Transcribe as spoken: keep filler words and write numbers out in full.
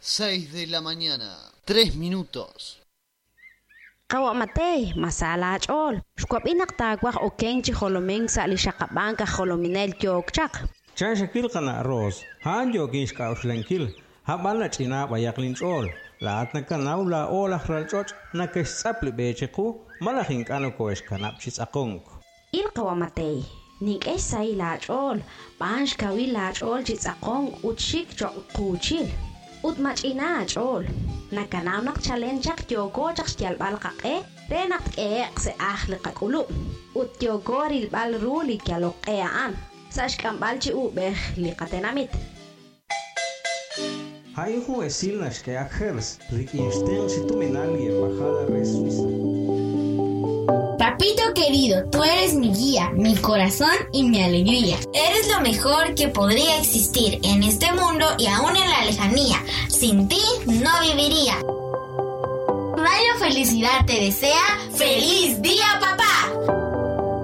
Seis de la mañana, tres minutos. Qawa' Mateey, ma sa laach'ool? Xwab'i naq taawaj okenk chi jolomink sa' li xaqab'ank aj jolominel yook chaq. Chan xawil qana' Roos, a'an yookin xk'a'uxlankil, hab'an nach'ina b'ayaq linch'ool. Laa'at nakanaw laa'o laj ralch'och' nake'xtz'ap li b'e chiqu malaj ink'a' nokohe'xkanab' chi tz'aqonk. Il qawa' Mateey, nink'e xsahil laach'ool, b'aan xkawil laach'ool chi tz'aqonk ut xik cho'q quuchil. Ut mach'ina aach'ool. Nakanaw naq chalen chaq yooko chaq xyalb'al qaq'e re naq tk'ehe'q sa' ajl li qak'ulub'. Ut yooko rilb'al ru li yalok q'e a'an, sa' xk'amb'al chi uub'ej li qatenamit. A'in jun esil naxk'e Gers rik'in xtenq chi tuminal li Embajada re Suiza. Papito querido, tú eres mi guía, mi corazón y mi alegría. Eres lo mejor que podría existir en este mundo y aún en la lejanía. Sin ti no viviría. Radio Felicidad te desea